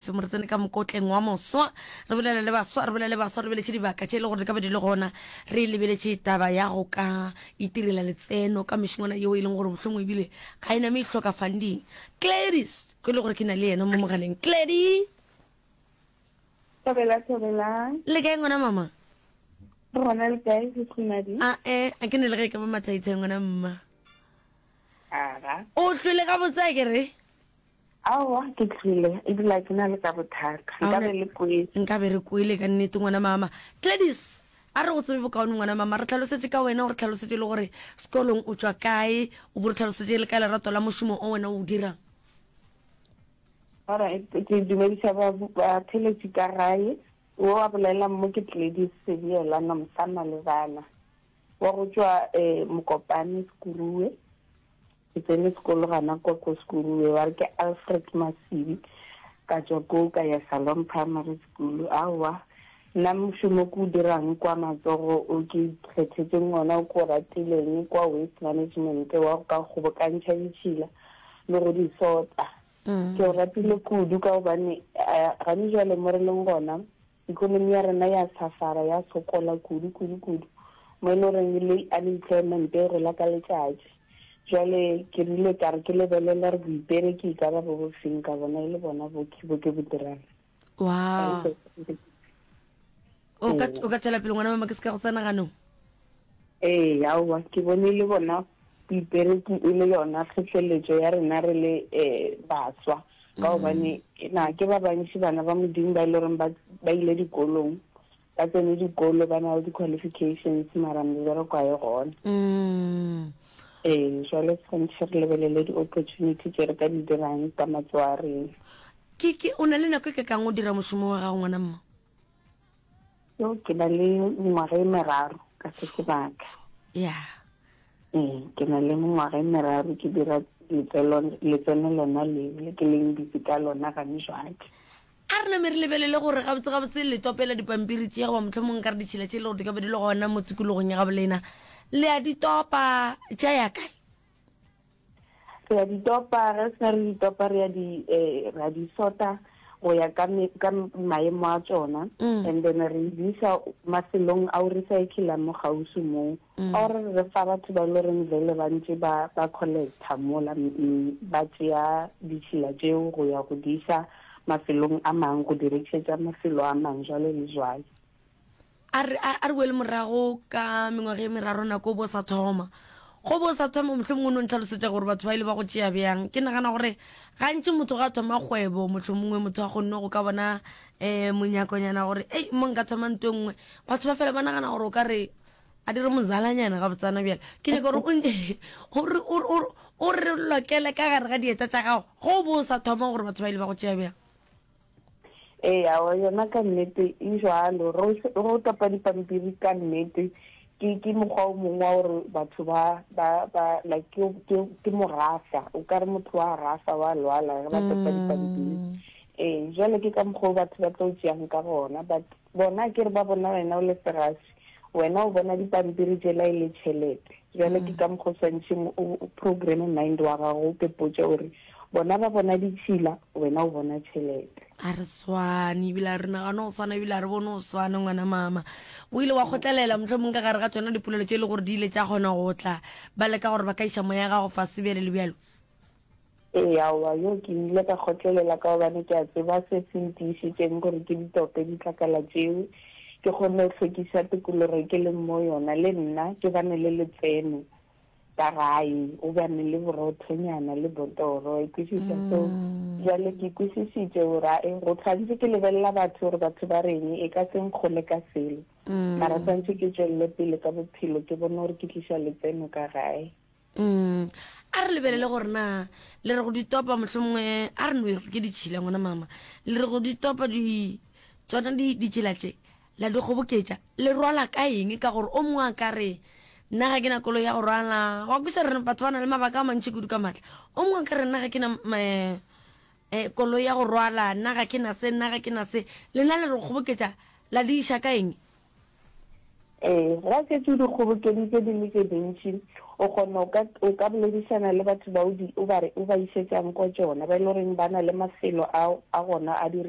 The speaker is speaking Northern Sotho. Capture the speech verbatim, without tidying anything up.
Re tsene ka mokotleng wa moswa, re bolele le baswa, re bolele le baswa, re lebeletše dibaka tše e le gore di ka be di le gona, re lebeletše taba ya go ka itirela letseno ka mešongwana yeo e leng gore mohlomongwe ebile ga e name e hloka funding. Gladys, ke le gore ke na le yena mo mogaleng. Glady! Thobela, thobela. Le kae ngwana mama? Re gona, le kae, Seskhumadi? A e, a ke ne le ge e ka ba mathaithai ngwana mma. Aga. O hlwele gabotse a ke re? Aowa, ke tlile, ebile a ke na le ka bothata. Nka be le kwele. Nka be re kwele ka nnete ngwana mama. Gladys, a re go tsebe bokaone ngwana mama. Re tlhalosetše ka wena, o re tlhalosetše le gore sekolong o tšwa kae, o bo re tlhalosetše le ka lerato la mošomo o wena o o dirang. Alright, ke dumediša ba batheletši ka gae. Wo a bolelang mo ke Gladys Sebiela Nomsa Malebana wa go tšwa eh, Mokopane Sekuruwe. Ke tsene sekolo gana kwa ko Sekuruwe, ba re ke Alfred Masibi. Ka tšwa koo ka ya Shalom Primary School. Aowa, nna mošomo ke o dirang kwa matsogo o ke ikgethetseng ona o ke o ratileng kwa waste management wa go ka kgobokantšha ditšhila le go di sota. Ke o ratile kudu ka gobane eh, gane jwale mo re leng gona economy ya rena ya safara, ya sokola kudu kudu kudu mo e le goreng le unemployment e gola ka letšatši. Jwale ke rile ka re ke lebelela re boipereki e ka ba bo bofeng, ka bona e le bona bo ke bo ke bo dirang. Wow. O ka o ka tšwela pele ngwana mama, ke se ka go tsena ganong. Ee, aowa, ke bone le bona boipereki e le yona tlhohleletšo ya rena re le um baswa, ka gobane na ke ba bantši bana ba Modimo ba e le goreng ba ba ile dikolong, ba tsene dikolo, ba na le di-qualifications, mara mebereko ga e gona. Mm. Ee, jwale tshwanetse re lebelele di-opportunity tše re ka di dirang ka matsogo a rena. Ke ke o na le nako e ka kang o dira mošomo wa gago ngwana mma? Yo, ke na le mengwaga e meraro ka se sebaka. Ya. Ee, ke na le mengwaga e meraro ke dira letseno letseno lona leo le ke leng busy ka lona gane jwale. A re name re lebelele gore gabotse gabotse le topela dipampiri tše goba mohlomongwe nka re ditšhila tše e le gore di ka be di le gona mo tikologong ya gabo lena, le a di topa tša ya kae? Re a di topa, ge se re di topa re a di eh, re a di sota go ya ka me, ka maemo a tšona, Mm. and then re di isa mafelong ao recyclang mo kgauswi moo, Mm. or re fa batho ba e le goreng vele ba ntše ba ba collecta mola, mm, ba tšea ditšhila tšeo go ya go di isa mafelong a mangwe, go di rekišetša mafelo a mangwe jwale le jwale. A re a re boele morago ka mengwaga e meraro nako o bo sa thoma. Go bo sa thoma mohlomongwe o no ntlhalosetša gore batho ba ile ba go tšea bjang. Ke nagana gore gantši motho ga a thoma kgwebo mohlomongwe motho a kgonne go ka bona um monyakonyana gore ei mo nka thoma nto e nngwe, batho ba fela ba nagana gore o ka re a dire mozalanyana gabotsana. Bjale ke nyaka gore o o re lokele ka gare ga dieta tša gago go bo sa thoma gore batho ba ile ba go tšea bjang. Ee, aowa, yona ka nnete e jwalo. Re o topa dipampiri ka nnete ke ke mokgwa o mongwe wa gore batho ba ba ba like ke ke ke morafa, o ka re motho wa rafa wa lwala ge ba topa dipampiri. Ee, jwale ke ka mokgwa o batho ba tlo tšeang ka gona, but bona ke re ba bona wena o le segaswi, wena o bona dipampiri tšela e le tšhelete. Jwale ke ka mokgwa o swantšheng o programme mind wa gago, o kepotše gore bona ba bona ditšhila, wena o bona tšhelete. A re swane, ebile a re nagane go swana, ebile a re bone go swana ngwana mama. O ile wa kgotlelela mohlomong ka gare ga tsona dipolelo tše e le gore di ile tša kgona go tla ba leka gore ba ka iša moya gago fase bjale le bjalo? Ee, aowa, yo ke ile ka kgotlelela ka gobane ke a tseba se se ntiišitšeng gore ke ditope ditlakala tšeo, ke kgone go hlwekiša tikologo e ke leng mo yona, le nna ke bane le letseno ka gae, o bane le borothonyana le botoro, e kwešiša. So jwale ke kwešišitše gore ae go tshwanetse ke lebelela batho gore batho ba reng, e ka se nkgole ka selo, mara tshwanetse ke tšwelele pele ka bophelo, ke bone gore ke tliša letseno ka gae. Mm. A re lebelele gore na le re go di topa mohlomongwe a re no e re ke ditšhila ngwana mama, le re go di topa di tsona di ditšhila tše la di kgoboketša le rwala ka eng? Ka gore o mongwe a ka re nna ga ke na koloi ya go rwala, wa kwisa re batho ba na le mabaka a mantši kudu ka maatla. O mongwe a ka re nna ga ke na eh, koloi ya go rwala, nna ga ke na se, nna ga ke na se. Lena le re go kgoboketša la di iša ka eng? Ee, ge a šetše o di kgobokeditše di le tše dintši, o kgona o ka, o ka boledišana le batho ba o di, o ba, o ba išetšang ko tšona, ba e le goreng ba na le mafelo a, a gona a di